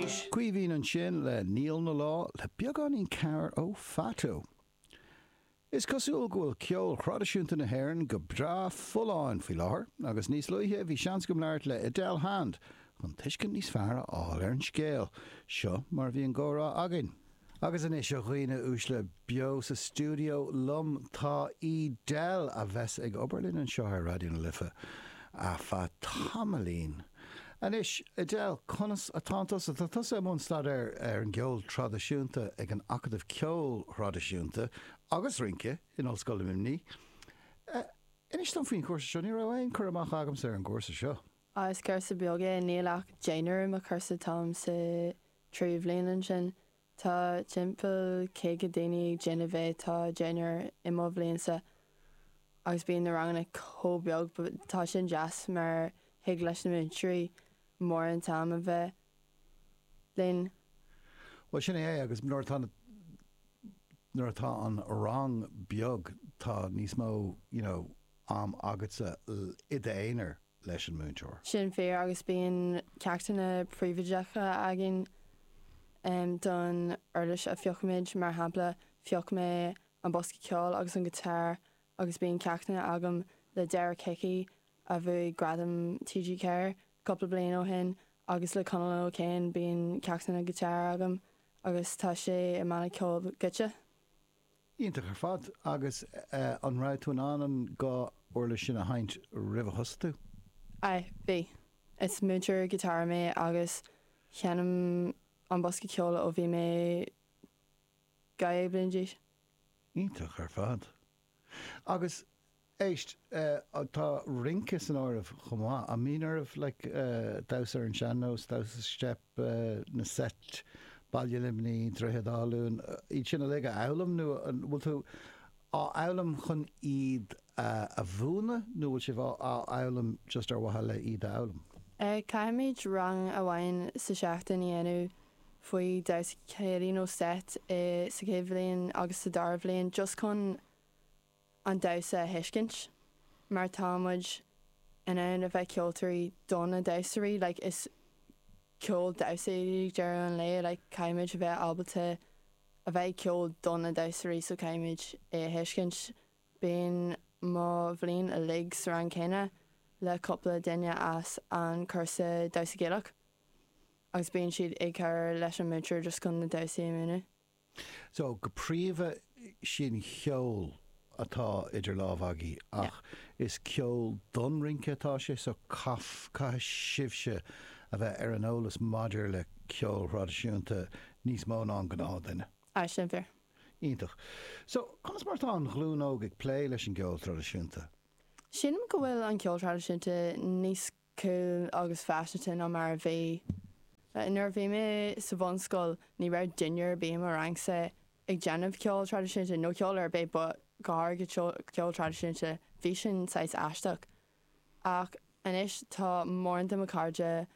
Arís. Caoimhín ansin le Níl 'na Lá le beagáinín cabhair ó Phato. Is cosúil go bhfuil ceol thraidisiúnta na hÉireann go breá folláin faoi láthair agus níos luaithe bhí seans agam labhairt le Edel Hand chun tuiscint níos fearr a fháil ar an scéal. Seo mar a bhí an gcomhrá againn. Agus anois, a dhaoine uaisle, beo sa stiúideo liom tá Edel, a bheas ag obair linn anseo ar Raidió na Life ar feadh tamaillín. Anois, Edel, conas atánn tusa? Tá tusa i mbun staidéir ar an gceol traidisiúnta ag an Acadamh Ceoil Thraidisiúnta agus Rince in Ollscoil Luimnigh. Inis dom faoin chúrsa seo, ní raibh aon cur amach agamsa ar an gcúrsa seo. Is cúrsa beag é, níl ach deichniúr i mo chúrsa, táim sa tríú bhliain ansin. Tá timpeall 50 daoine ag déanamh é, tá deichniúr i mo bhliainsa agus bíonn na ranganna chomh beag but tá sin deas mar thig leis na múinteoirí mórán t-am a bheith linn. Bhuel sin é agus nuair atá na, nuair atá an rang beag tá níos mó you know am agatsa i d'aonar. leis an múinteoir. Sin fíor agus bíonn ceachtanna príobháideacha againn don uirlis a phiocaimid. Mar shampla, phioc mé an bosca ceoil agus an guitar agus bíonn ceachtanna agam le Derek Hickey a bhuaigh Gradam TG4 cúpla bliain ó shin agus le Conall O'Kane bíonn ceachtanna guitar agam agus tá sé i mbanna ceoil Goitse. Iontach ar fad. Agus an raibh tú in ann an dhá uirlis sin a sheinnt roimh a thosaigh tú? Aye, bhí. Is múinteoir guitar mé agus sheinnim an bosca ceoil ó bhí mé 12 bliain d'aois. Iontach ar fad. Agus éist, tá rince san áireamh chomh maith. An mbíonn oraibh like damhsa ar an sean-nós, damhsa steip, na seit, Baile Luimní, Droichead Átha Luain, iad sin uilig a fhoghlaim nó an bhfuil tú á fhoghlaim chun iad a mhúineadh nó bhfuil sibh á fhoghlaim just ar mhaithe le iad a fhoghlaim? Caithfimid rang amháin sa seachtain a dhéanamh faoi damhsa céilí nó seit sa chéad bhliain agus sa dara bhliain just chun an damhsa a thuiscint mar tá muid in ann a bheith ceoltóirí do na damhsóirí like is ceol damhsa é ag deireadh an lae like caithfimid a bheith ábalta a bheith ag ceol do na damhsóirí so caithfimid é a thuiscint. Bíonn mo bhliain uilig sa rang céanna le cúpla duine as an cúrsa damhsa Gaelach agus bíonn siad ag cur leis an múinteoir just chun na damhsaí a mhúineadh. So, go príomha sin cheol atá idir lámha agaibh ach is ceol don rince atá sé so caith, caithfidh sibhse a bheith ar an eolas maidir le ceol thraidisiúnta níos mó ná an gnáthdhuine. Aye, sin fíor. Iontach. So, conas mar atá an ghlúin óg ag plé leis an gceol traidisiúnta? Sílim go bhfuil an ceol traidisiúnta níos cool agus faiseanta ná mar a bhí. Nuair a bhí mé sa bhunscoil ní raibh duine ar bith i mo rangsa ag déanamh ceol traidisiúnta, nó ceol ar bith but go háirithe ceol traidisiúnta, bhí sin saghas aisteach. Ach anois tá mórán de mo chairde,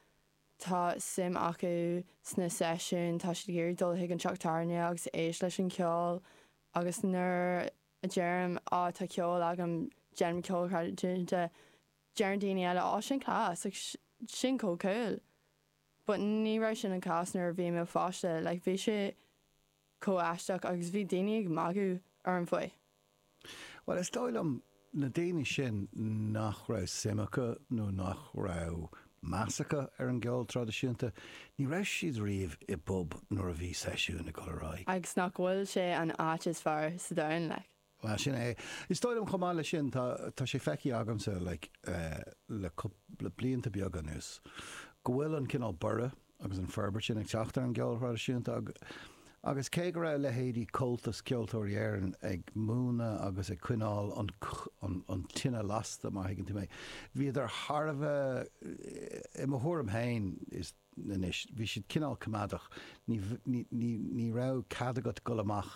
tá suim acu sna seisiúin, tá siad ag iarraidh dul chuig an teach tábhairne agus éist leis an cheol agus nuair a deirim á tá ceol agam, déanaim ceol traidisiúnta, Deireann daoine eile, Á, sin class, like, sin chomh cool. But ní raibh sin an cás nuair a bhí mé pháiste, like, bhí sé chomh aisteach agus bhí daoine ag magadh orm faoi. Bhuel, is dóigh liom, na daoine sin nach raibh suim acu nó nach raibh meas acu ar an gceol traidisiúnta, ní raibh siad riamh i bpub nuair a bhí seisiún ag dul ar aghaidh. Agus nach bhfuil sé an áit is fearr sa domhan, like. Bhuel, sin é. Is dóigh liom chomh maith leis sin, tá, tá sé feicthe agamsa, like, le cúpla blianta beaga anuas, go bhfuil an cineál borradh agus an forbairt sin ag teacht ar an gceol thraidisiúnta agus cé go raibh leithéidí Comhaltas Ceoltóirí Éireann ag múineadh agus ag coinneáil an, an, an tine lasta, má thuigeann tú mé, bhíodar thar a bheith, i mo thuairim féin, is. anois, bhí siad cineál coimeádach, ní, ní, ní, ní raibh cead agat dul amach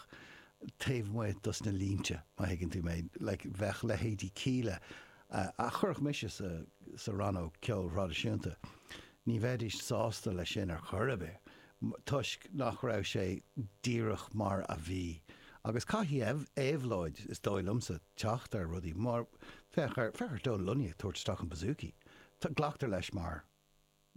taobh amuigh dos na línte, má thuigeann tú mé, like, bheadh leithéidí Kíla, a chuirfeadh mise sa, sa rannóg ceoil thraidisiúnta, ní bheidís sásta leis sin ar chor ar bith, toisc nach raibh sé díreach mar a bhí. Agus caithfidh éabhlóid, is dóigh liomsa, teacht ar rudaí, mar, féach ar, féach ar Donal Lunny ag tabhairt isteach an bouzouki, glactar leis mar.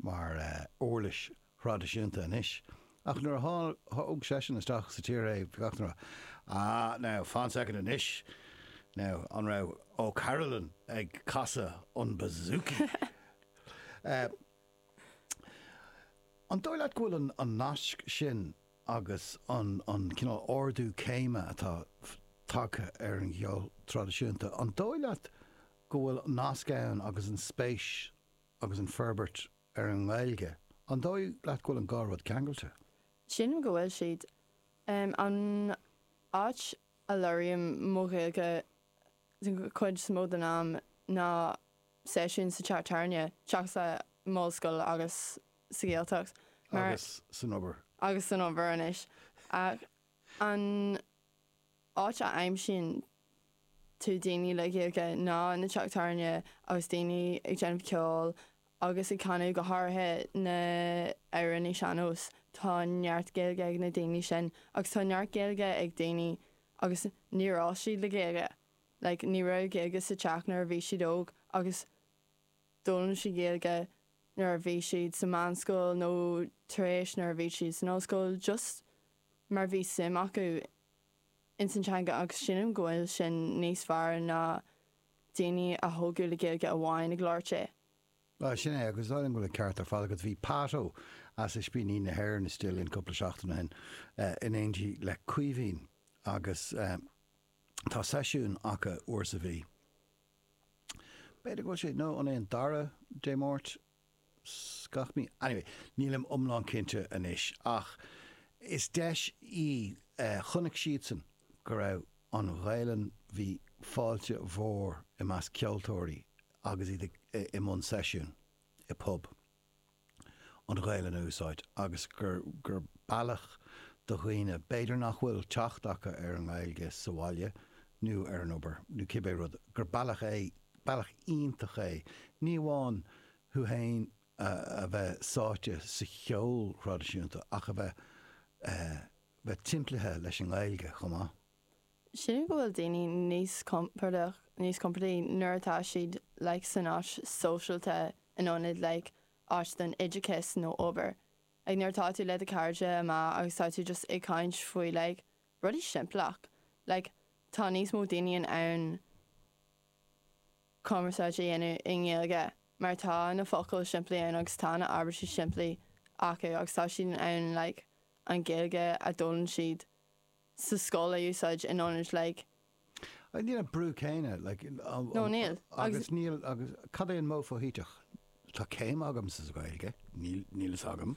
mar uirlis thraidisiúnta anois. Ach nuair a thóg seisean isteach sa tír é, bhí gach duine ag rá, Ah, now, fan soicind anois, now, an raibh O'Carolan ag casadh an bouzouki? An dóigh leat go bhfuil an nasc sin agus an cineál ardú céime atá tagtha ar an gceol traidisiúnta, an dóigh leat go bhfuil nasc ann agus an spéis agus an forbairt ar an nGaeilge, an dóigh leat go bhfuil an dhá rud ceangailte? Sílim go bhfuil siad. An áit a labhraím mo Ghaeilge den chuid is mó den am ná seisiún sa teach tábhairne, seachas i m'ollscoil agus sa Ghaeltacht. Mar. Agus san obair. Agus san obair anois. Ach an áit a aimsíonn tú daoine le Gaeilge ná na teach tábhairne agus daoine ag déanamh ceoil agus ag canadh, go háirithe na amhráin sean-nós. Tá neart Gaeilge ag na daoine sin agus tá neart Gaeilge ag daoine agus níor fhás siad le Gaeilge. Like, ní raibh Gaeilge sa teach nuair a bhí siad óg agus d'fhoghlaim siad Gaeilge nuair a bhí siad sa meánscoil nó tar éis nuair a bhí siad san ollscoil just mar bhí suim acu ins an teanga agus sílim go bhfuil sin níos fearr ná daoine a thógadh le Gaeilge amháin ag labhairt é. Bhuel, sin é, agus is dóigh liom go bhfuil an ceart ar fad agat. Bhí Pat Ó as Ispíní na hÉireann istigh linn cúpla seachtain ó shin in éindí le Caoimhín agus tá seisiún acu uair sa mhí. B'fhéidir go bhfuil sé, nó an é an dara Dé Máirt gach mí? Anyway, nílim iomlán cinnte anois, ach is deis í, chonaic siadsan go raibh an Ghaelainn, bhí fáilte mhór i measc ceoltóirí agus iad i mbun seisiún i bpub. an Ghaelainn a úsáid agus gur gur bealach do dhaoine, b'fhéidir nach bhfuil teacht acu ar an nGaeilge sa bhaile nó ar an obair nó cibé rud, gur bealach é, bealach iontach é, ní amháin thú féin a bheith sáite sa cheol thraidisiúnta ach a bheith bheith timplithe leis an nGaeilge chomh maith. Sílim go bhfuil daoine níos compordach, níos compordaí nuair atá siad like san áit sóisialta in ionad like áit don oideachas nó obair. Like nuair atá tú le do chairde amach agus tá tú just ag caint faoi like rudaí simpleach. Like tá níos mó daoine in ann cumarsáid a dhéanamh i nGaeilge mar tá na focail simplí ann agus tá na abairtí simplí acu agus tá siad in ann like an Ghaeilge a d'fhoghlaim siad sa scoil a úsáid in ionad like. Níl an brú céanna like. No níl. Agus níl agus cad é an modh foshuiteach? Tá céim agam sa Ghaeilge, níl níl fhios agam.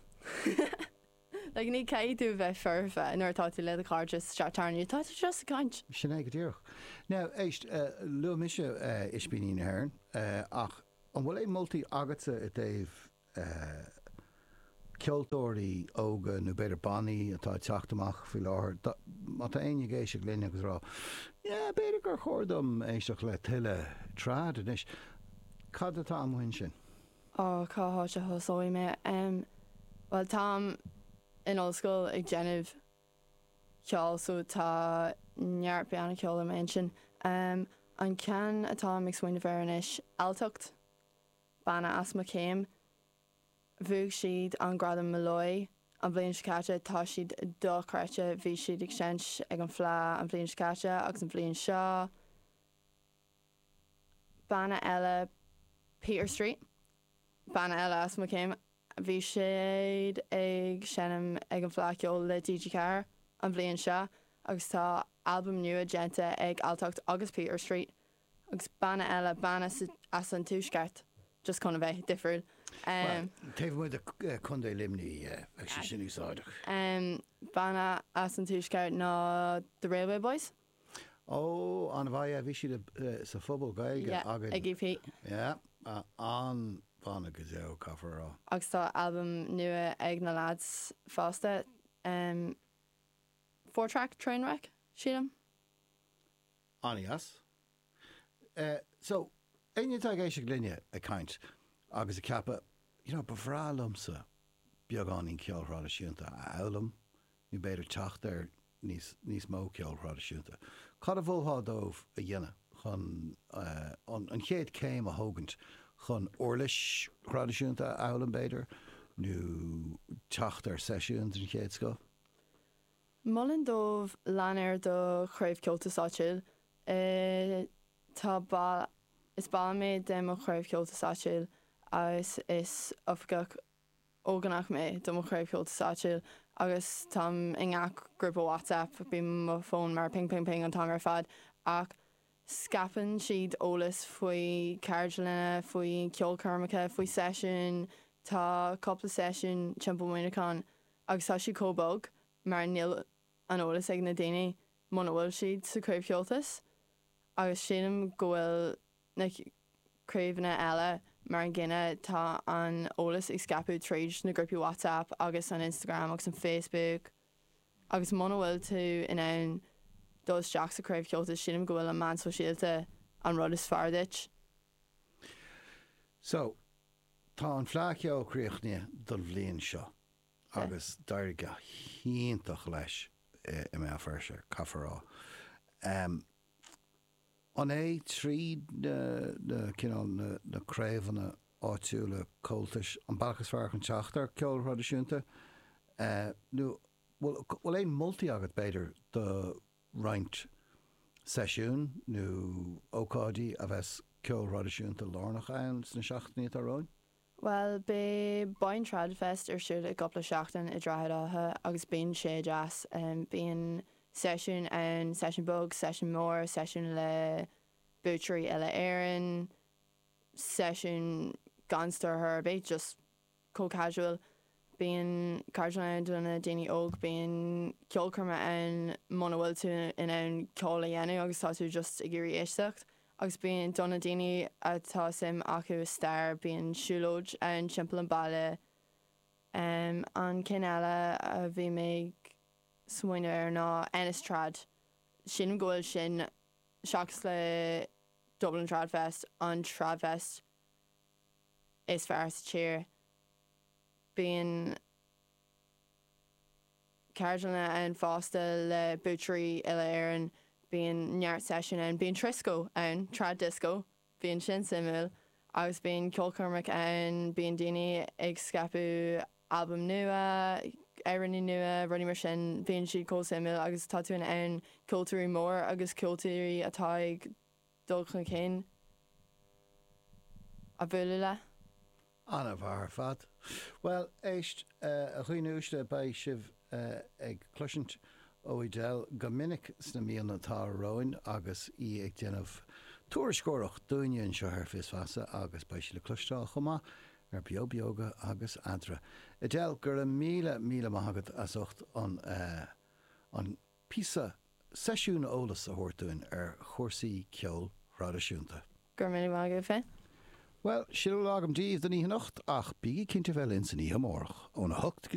Like ní caithfidh tú a bheith foirfe nuair atá tú le do chairde sa teach tábhairne, tá tú just ag caint. Sin é go díreach. Now éist, luaigh mise Ispíní na hÉireann ach an bhfuil aon moltaí agatsa i dtaobh ceoltóirí óga nó b'fhéidir bannaí atá ag teacht amach faoi láthair, má tá éinne ag éisteacht linn agus ag rá, yeah, b'fhéidir gur chóir dom éisteacht le tuilleadh trad anois, cad atá amuigh ansin? Ó, cá háit a thosóidh mé? Em, bhuel, táim in ollscoil ag déanamh ceoil so tá neart banna ceoil i m'intinn. Em, an ceann atáim ag smaoineamh air anois, Alltacht. Banna as mo chéim. Bhuaigh siad an gradam Molloy an bhliain seo caite, tá siad dochreidte, bhí siad ag seinnt ag an Fleadh an bhliain seo caite agus an bhliain seo. Banna eile Peter Street, banna eile as mo chéim, bhí siad ag seinm ag an Fleadh Cheoil le TG4 an bhliain seo agus tá albam nua déanta ag Alltacht agus Peter Street Agus banna eile, banna as an tuaisceart, just chun a bheith difriúil. Bhuel, taobh amuigh de Chontae Luimnigh, bheadh sé sin úsáideach. Banna as an tuaisceart ná The Railway Boys. Ó, an-mhaith, yeah, bhí siad sa phuball Gaeilge againn. Yeah, ag EP. Yeah, an-bhanna go deo, caithfear a rá. Agus tá albam nua ag na lads fosta, Four Track Trainwreck, sílim. An-dheas. So, éinne atá ag éisteacht linne ag caint agus ag ceapadh, you know, ba bhreá liomsa beagáinín ceoil thraidisiúnta a fhoghlaim nó b'fhéidir teacht ar níos, níos mó ceoil thraidisiúnta, cad a mholfá dóibh a dhéanamh chun an, an chéad chéim a thógaint chun uirlis thraidisiúnta a fhoghlaim b'fhéidir nó. teacht ar seisiúin den chéad scoth? Molaim dóibh lean ar do chraobh Comhaltas áitiúil. Tá ball, is ball mé de mo chraobh Comhaltas áitiúil agus is oifigeach ógánach mé do mo chraobh Comhaltas áitiúil agus táim i ngach grúpa WhatsApp, bíonn mo fón mar ping ping ping an t-am ar fad ach scaipeann siad eolas faoi ceardlanna, faoi ceolchoirmeacha, faoi seisiúin, tá cúpla seisiún timpeall Muineachán agus tá siad chomh bog mar níl an eolas ag na daoine muna bhfuil siad sa chraobh Comhaltas agus sílim go bhfuil na craobhanna eile mar an gcéanna, tá an eolas ag scaipeadh tríd na grúpaí WhatsApp agus an Instagram agus an Facebook agus muna bhfuil tú in ann dul isteach sa chraobh Comhaltas sílim go bhfuil an meán sóisialta an rud is fearr duit. So, tá an Fleadh Cheoil críochnaithe don bhliain seo agus d'éirigh go hiontach leis i mBéal Feirste, caithfear a rá. An é tríd na cineál na craobhanna áitiúla Comhaltais an bealach is fearr chun teacht ar ceol thraidisiúnta? Nó bhfuil aon moltaí agat b'fhéidir do roinnt seisiún nó ócáidí a bheas ceol thraidisiúnta lárnach ann sna seachtainí atá romhainn? Bhuel, beidh Boyne Trad Fest ar siúl i gcúpla seachtain i Droichead Átha agus bíonn sé deas. Bíonn seisiún ann, seisiún beag, seisiún mór, seisiún le buaiteoirí uile-Éireann, seisiún gan stiúrthóir ar bith, just chomh casual. Bíonn ceardlanna ann do na daoine óg, bíonn ceolchoirme ann muna bhfuil tú in ann ceol a dhéanamh agus tá tú just ag iarraidh éisteacht. Agus bíonn, do na daoine atá suim acu i stair, bíonn siúlóid ann timpeall an baile. An ceann eile a bhí mé ag smaoineamh air ná Ennis Trad. Sílim go bhfuil sin, seachas le Dublin Trad Fest, an Trad Fest is fearr sa tír. Bíonn ceardlanna ann fosta le buaiteoirí uile-Éireann, bíonn neart seisiún ann, bíonn trisco ann, trad disco, bíonn sin suimiúil, agus bíonn ceolchoirmeacha ann, bíonn daoine ag scaipeadh albaim nua, amhráin nua, rudaí mar sin, bíonn siad chomh suimiúil agus tá tú in ann ceoltóirí mór agus ceoltóirí atá ag dul chun cinn a bhualadh le. An-mhaith ar fad. Bhuel, éist, a dhaoine uaisle, beidh sibh ag cloisint ó Edel go minic sna míonna atá romhainn agus í ag déanamh tuairisceoireacht dúinne anseo ar Fios Feasa agus beidh sí le cloisteáil chomh maith ar Beo Beoga agus Eadra. Edel, go raibh míle, míle maith agat as ucht an, an píosa seisiún eolais a thabhairt dúinn ar chúrsaí ceoil thraidisiúnta. Go raibh míle maith agat féin. Bhuel, sin a bhfuil agam daoibh don oíche anocht, ach bígí cinnte bheith linn san oíche amárach, óna hocht go dtí.